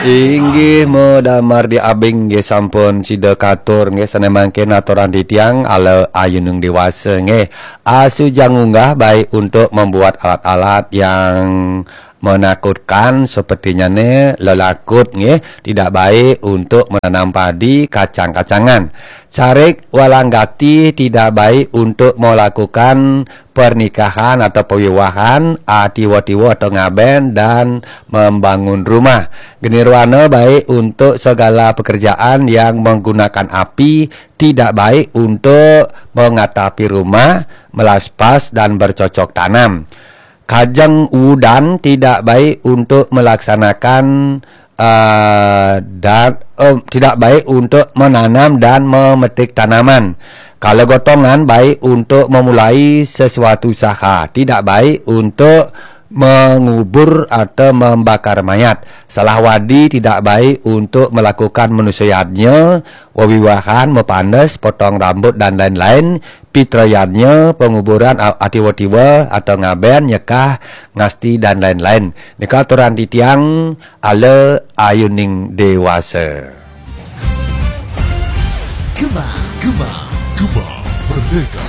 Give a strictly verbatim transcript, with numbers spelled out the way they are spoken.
Inggih, modamar di abing nggih sampun sida katur nggih, sané mangkin aturan titiang ala ayuning dewasa nggih. Asuja ngunggah baik untuk membuat alat-alat yang menakutkan sepertinya nih lelakut nggih, tidak baik untuk menanam padi, kacang-kacangan. Carik walanggati tidak baik untuk melakukan pernikahan atau pewiwahan, ah, tiwa-tiwa atau ngaben dan membangun rumah. Genirwana baik untuk segala pekerjaan yang menggunakan api, tidak baik untuk mengatapi rumah, melaspas dan bercocok tanam. Kajeng udan tidak baik untuk melaksanakan, eh, dan eh, tidak baik untuk menanam dan memetik tanaman. Kalau gotongan baik untuk memulai sesuatu usaha, tidak baik untuk mengubur atau membakar mayat. Salah wadi tidak baik untuk melakukan manusia yadnya, wewiwahan, mepanes, potong rambut dan lain-lain. Pitra yadnya, penguburan a- atiwa-tiwa atau ngaben, nyekah, ngasti dan lain-lain. Nika aturan titiang ala ayuning dewasa. Gema, Gema, Gema Merdeka.